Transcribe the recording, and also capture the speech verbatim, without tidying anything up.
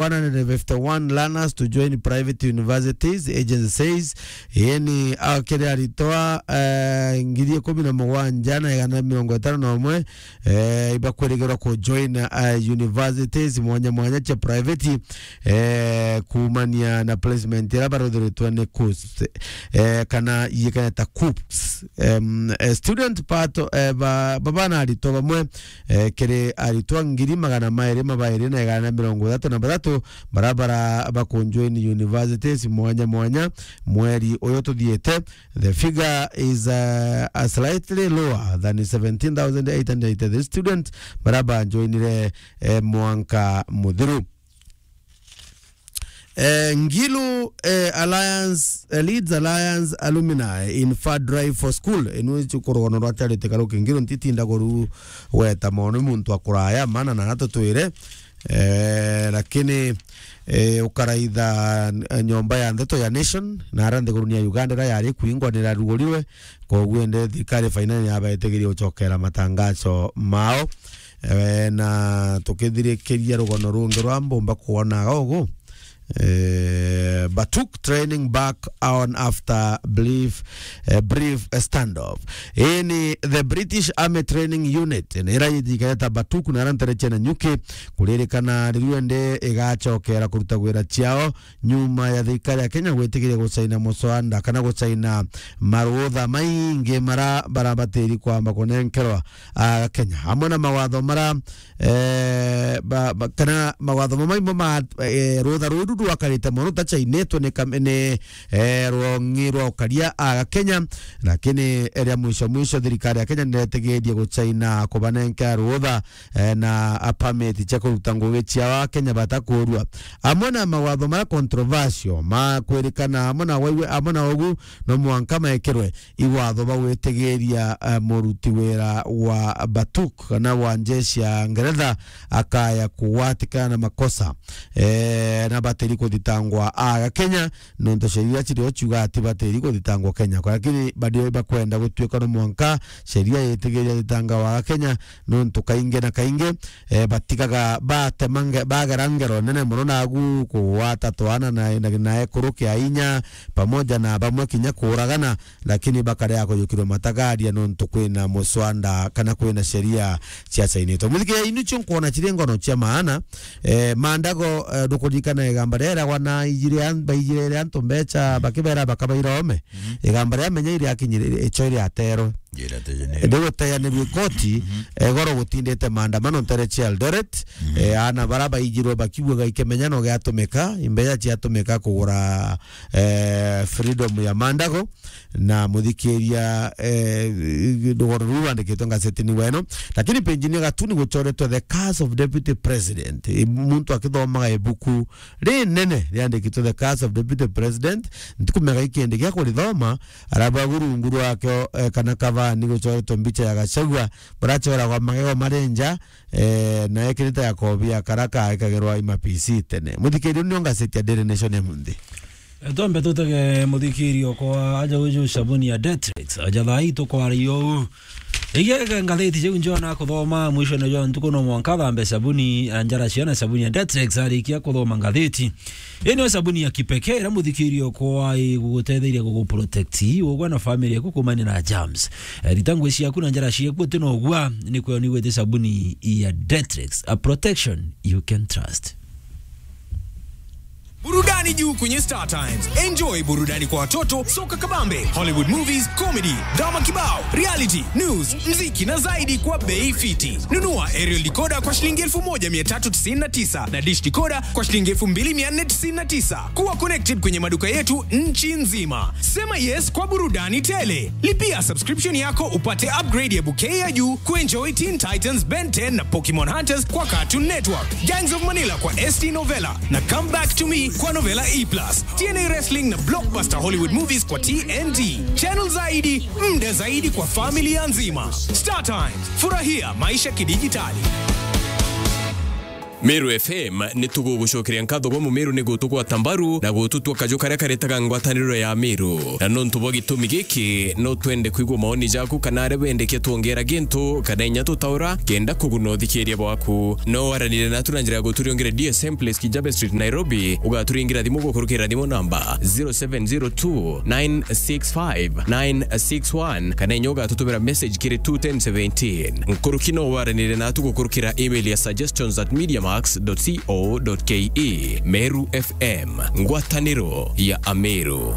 one hundred fifty-one learners to join private universities, agency says. Ii ni akiri aritwa, eh, ngiri ikumi na mugwanja na igana mirongo itano na umwe, eh, ibakwirigirwa ku join, eh, universities mwanya mwanya cia private, eh, kuumania na placement iria baruthiritwe ni KUCCPS, eh, kana iikene ta KUCCPS. Em, eh, student part, eh, ba, ba bana aritwa bamwe, eh, kiri aritwa ngiri magana mairi mabairi na igana na mirongo ithatu na bathatu, bara, bara bakunjoin universities mwanya mwanya mweri uyu tuthiite. The figure is, uh, a slightly lower than seventeen thousand eight hundred eighty-three students bara banjoinire, eh, mwanka muthiru. Eh, Ngilu, eh, Alliance, eh, Leeds Alliance Alumni in Far Drive for School. Inu ichu kurugono rwa charity karuki Ngilu ntitinda kuru weta mono muntu akuraya, maana na natutwire. Eh, lakini, eh, ukaraitha, eh, nyomba ya ndeto ya Nation, na ara nthiguruni ya Uganda ira yari kuingwa nirarugurirwe, koguo ende thirikari finally yabaitigirie gucokera matangazo mao. Eh, na tukithirikiria rugono rungi rwa mbumba kuonaga ugu, eh, Batuk training back on after brief, eh, brief standoff. Ii ni the British Army Training Unit, ni ira yithikareta Batuk na ara ntere cia Nanyuki, kuririkana riu ende igacokera kuruta gwira ciao nyuma ya thirikari ya Kenya gwitigiria gucaina muswanda kana gucaina marutha maingi mara barabatiri kwamba kunenkerwa Akenya, amwe na mawatho mara, eh, ba, ba, kana mawatho mamwe ma, eh, rutha ruru rwakarite mono rutacainitwe ni kam-, ni, eh, rwongi rwa ukaria Akenya, lakini ria mwisho mwisho thirikari ya Kenya niretigirie gucaina kubanenkera rutha, eh, na a permit cia kuruta ngugi ciao Akenya batakurua. Amwe na mawatho mara controversial ma kwirikana amwe na waiwe, amwe na ugu no mwanka mekirwe iwatho ba gwitigiria, eh, muruti wira wa Batuk kana wa njeshi ya Ngeretha akaya kugwatikana na makosa, eh, na batiri kuthitangwa Akenya, nontu sheria cirio ciuga ati batiri kuthitangwa Kenya. Lakini bado bakwenda gutuika no mwanka sheria yitigiria thitanga wa Kenya, nontu kaingi na kaingi, eh, batigaga batemange-, bagera ngero nene mono nagu kugwata twana na, na, na ekuru kia inya, pamoja na bamwe kinya kuuragana, lakini bakarega kuyukirwa matagaria nontu kwina muswanda kana kwina sheria ciacainitwe. Muthikiria, inu cio nkwona ciri ngono cia maana. Eh, Mandago, eh, ndukuririkana igamba riria eragwa na ijire an-, baijirire antu mbecha, bakibera bakabaira ome. Mhm. Igamba riria menya iri akinyire, icho iri aterwe. Njira te jene. Ndi guteanirwe ikoti, mhm, eh, goro gutindite maandamano ntere cia Eldoret, mhm, eh, ana bara baijirwe bakiugaga ikimenyano giatumika, imbeca ciatumika kugura, eh, freedom ya Mandago, na muthikiria, eh, rugoro ruu rwandikitwe ngazetini weno. Lakini page-ini ya gatuni gucoretwe The Curse of Deputy President. I-, muntu akithomaga ibuku rinene riandikitwe The Curse of Deputy President, ntikumega ikindi gia kurithoma, arabu agu rungu rwakio, eh, kana kavani gucoretwe mbicha ya Gachagua, buracoragwa magego mari nja, eh, na ekirite gakobi ya kara kaekagirwa i ma P C tene. Muthikiria, nio ngazeti ya Daily Nation ya munthi. Twambe tutege muthikirio kwa aja uju sabuni ya Detrex. Aja thaa ii tukwaria uu. Igia ngatheti jiu njona kuthoma mwisho-ini jwa ntuku no mwanka thambe sabuni, a, njara ciana sabuni ya Detrex arikia kuthoma ngatheti. Ii niyo sabuni ya kipekee iria muthikirio kwa igugutetheria guguprotect ugwe na family yaku kumania na germs. Eh, rita ngui ciaku na njara ciaku uti na ugua, ni kwio ni gwite sabuni ya Detrex, a protection you can trust. Burudani juu kwenye Star Times. Enjoy burudani kwa watoto, soka kabambe, Hollywood movies, comedy, drama kibao, reality, news, mziki na zaidi kwa bei fiti. Nunua aerial decoder kwa shilingi elfu moja mia tatu tisini na tisa na dish decoder kwa shilingi elfu mbili mia nne tisini na tisa. Kuwa connected kwenye maduka yetu nchi nzima. Sema yes kwa burudani tele. Lipia subscription yako upate upgrade ya bouquet ya juu kuenjoy Teen Titans, Ben ten na Pokemon Hunters kwa Cartoon Network, Gangs of Manila kwa S T Novella na Come Back to Me kwa Novella E plus, T N A Wrestling na blockbuster Hollywood movies kwa T N T. Channel zaidi, muda zaidi kwa familia nzima. Star Times, furahia maisha kidijitali. Meru F M ni tugugucokeria nkatho gwa Mumeru ni gutugwata mbaru na gututua kaju karia karetaga ngwataniro ya Meru. Na nontu bwa gitumi giki, no twende kwigua maoni jaku kana aria wendekia twongera gintu kana inya tutaura kenda kuguna uthikiria bwaku. No waranire natu na njira ya guturiongera D S M Place, Kijabe Street, Nairobi, ugaturingira thimu gukurukira thimu namba zero seven zero two nine six five nine six one, kana inya ugatutumira message kiri two ten seventeen. Nkuruki no waranire natu gukurukira email ya suggestions at mediamax dot co dot ke. Meru F M, ngwataniro ya Ameru.